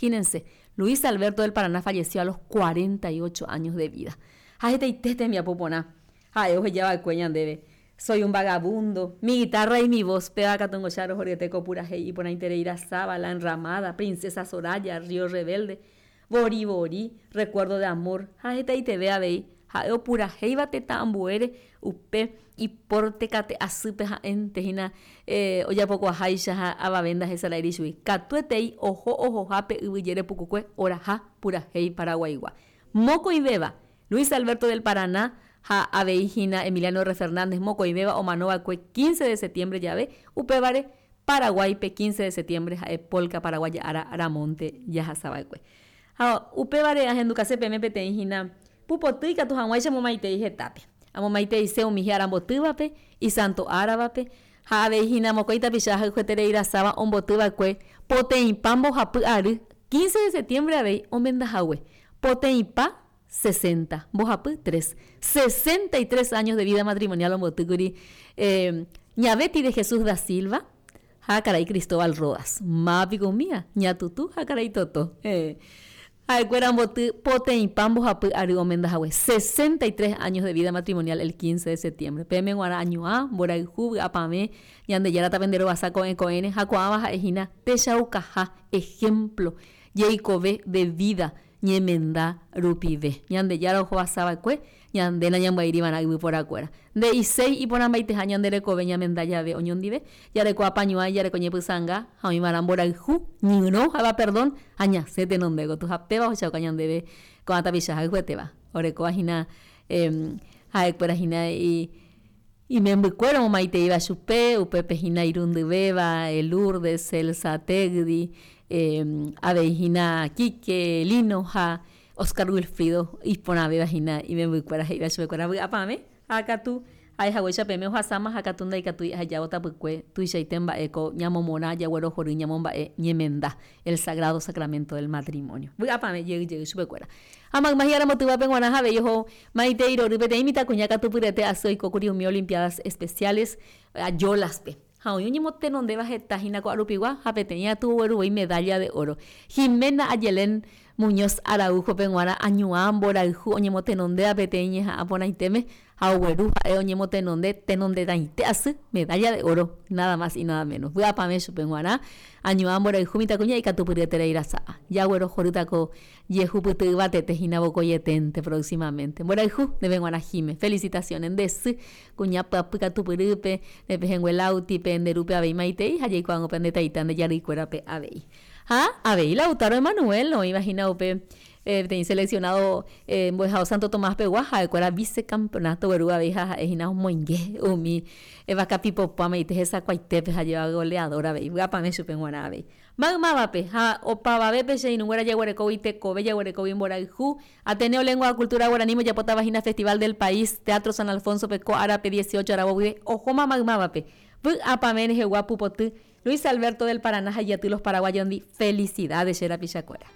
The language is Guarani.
Imagínense, Luis Alberto del Paraná falleció a los 48 años de vida. Ha hetaite tembiapo porã ha'e oheja va'ekue ñandéve. Soy un vagabundo, Mi guitarra y mi voz, péva katu ngocha rohoryete ko purahéi iporãiterei rasáva, La enramada, Princesa Soraya, Río rebelde, Vori vori, Recuerdo de amor, ha hetaiteve avei, ha'e opurahéiva tetã ambuére upe iporte kate asýpe ha'énte hína ojapokuaháicha ha avave ndahesaráiri chugui. Katuetei oho ohohápe yvy jere pukukue oraha purahéi paraguaigua. Mokõivéva, Luis Alberto del Paraná ha avei hína Emiliano R. Fernández mokõivéva omanova'ekue 15 de septiembre jave, upévare Paraguáipe 15 de septiembre ha'e Polka Paraguaya ára ramónte jahasava'ekue. Ha upévare ahendukase peẽme peteĩ hína pupoty ikatu hag̃uáicha amomaitei hetápe. Amomaiteise umi hi'arambotývape, isanto áravape, ha avei hína mokõi tapicha ahayhueterei rasáva ombotyva'ekue poteĩpa mbohapy ary, 15 de septiembre avei omendahague, poteĩpa sesenta, mbohapy tres, 63 años de vida matrimonial ombotýkuri Ña Betty de Jesús da Silva ha karai Cristóbal Rodas. Máva piko umía? Ña Tutu ha karai Toto. Ha'ekuéra omboty poteĩpa mbohapy ary omenda hague, 63 años de vida matrimonial el 15 de septiembre. Peẽme g̃uarã añuã, mborayhu, vy'apavẽ, Ñandejára tapenderovasa ko'ẽ ko'ẽre ha ko'ãva ha'e hína techaukaha, ejemplo, jeikove de vida ñemenda rupive. Ñandejára ohovasa va'ekue, ñande nañambyaíri va'erã yvyporakuéra. Nde'iséi iporãmbaiteha ñande rekove ñamenda jave oñondive, jareko apañuãi, jareko ñepysãnga ha oĩ va'erã mborayhu, ñyrõ ha'éva perdón ha ñasẽ tenonde gotyo. Ha péva ohechauka ñandéve ko'ã tapicha hayhuetéva, orekóva hína ha'ekuéra hína imembykuéra omomaiteíva chupe, upépe hína irundyvéva, Lourdes, Celsa, Tegdi, avei hína Quique, Lino ha Oscar Wilfrido iporãvéva hína imembykuéra he'íva chupekuéra vy'apavẽ ha katu ha'e haguéicha peẽme ohasáma ha katu ndaikatúi ahejávo tapykue tuichaite mba'e ko ñamomorã jaguerohory ñamomba'e ñemenda el sagrado sacramento del matrimonio. Vy'apavẽ jey jey chupekuéra. Ha mayma hi'arambotyvápe g̃uarã avei oho maitei rory peteĩ mitãkuña katupyrete asy oikókuri umi Olimpiadas Especiales Ayolas-pe. Ha oĩ oñemotenondéva heta hína ko arupigua ha peteĩ aty ogueru voi medalla de oro. Jimena Ayelén Muñoz Araujo-pe g̃uarã añuã mborayhu oñemotenondéva peteĩ ñeha'ã porãitéme ha ogueru ha'e oñemotenonde tenonderãite asy medalla de oro, nada más y nada menos. Vy'apavẽ chupe g̃uarã añuã mborayhu mitãkuña ikatupyryeterei rasa'a. Jaguerohorýta ko jehupyty yvatete hína vokoieténte próximamente. Mborayhu ndéve g̃uarã Jime. Felicitaciones nde sy kuña pyapy katupyrýpe, ne pehẽngue Lauti-pe, nde rúpe avei maitei ha jaikuaángo pe nde taita nde jarýikuérape avei. Ha avei Lautaro Emanuel oĩva hína upe peteĩ seleccionado mbo'ehao Santo Tomás pegua, ha'ekuéra vicecampeonato gueru avei ha ha'e hína omoinge umi vakapipopo amaite hesakuaitépe ha jeva goleador avei, vy'apavẽ chupe g̃uarã avei. Maymávape ha opavavépe che irũnguéra jaguerekógui tekove, jaguerekógui mborayhu, Ateneo Lengua ha Cultura Guaraníme ojapótava hína Festival del País, Teatro San Alfonso-pe ko árape 18 aravo guive ohóma maymávape. Vy'apavẽ rehegua pupoty, Luis Alberto del Paraná ha ijaty Los Paraguayondi. Felicidades che rapichakuéra.